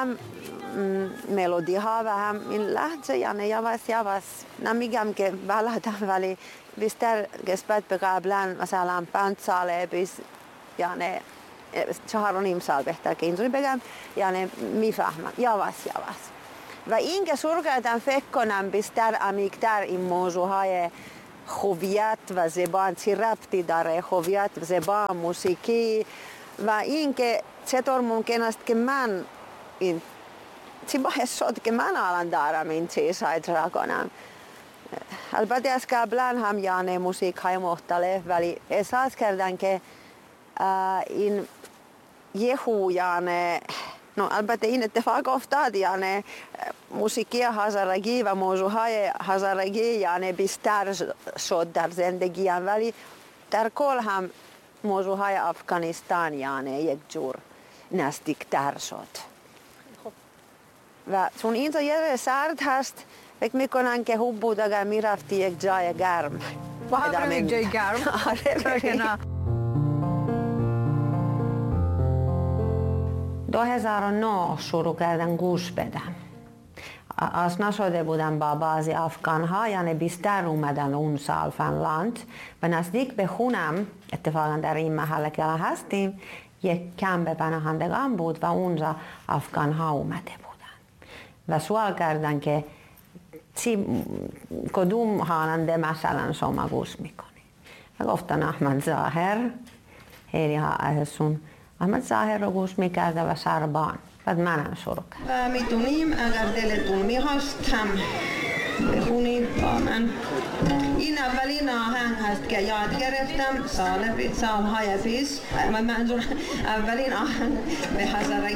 هم ملودی ها و هم این لحظه، یعنی یواش یواش، نمیگم که بلدم ولی بیشتر نسبت به قبلا، مثلا 5 ساله پیش، یعنی 4.5 سال بهتر که اینطوری بگم، یعنی میفهمم یواش یواش. و این که شروع کردم فکر کنم بیشتر عمیق‌تر این موضوع های هویت و زبان چی ربطی داره، هویت، زبان، موسیقی، و این که چطور ممکن است که من این چی باعث شد که من الان دارم این چیزها اجرا کنم. البته از قبلا هم یعنی موسیقی های مختلف، ولی احساس کردن که این یهو یعنی البته این اتفاق افتاد، یعنی موسیقی هزارگی و موضوعهای هزارگی یعنی بیشتر شد در زندگیم، ولی در کل هم موضوعهای افغانستان یعنی یک جور نزدیکتر شد. و چون اینجا یه سرد هست، فکر میکنن که خوب بود اگر میرفتی یک جای گرم. با هم یک جای گرم. آره. 2009 شروع کردن گوش بدم. آشنا شده بودم با بعضی افغان ها، یعنی بیشتر اومدن اون سال فنلاند و نزدیک به خونم، اتفاقا در این محله که الان هستیم یک کمپ پناهندگان بود و اونجا افغان ها اومده بودن و سوال کردن که کدوم خواننده مثلا شما گوش میکنی؟ و گفتن احمد ظاهر. خیلی ها ازشون احمد ظاهر رو گوش میکرده و سربان. بعد منم شروع کردم. و میتونیم اگر دلتون میخواست هم بخونید با من. این اولین آهنگ هست که یاد گرفتم سالهای پیش. من منظور اولین آهنگ به هزارگی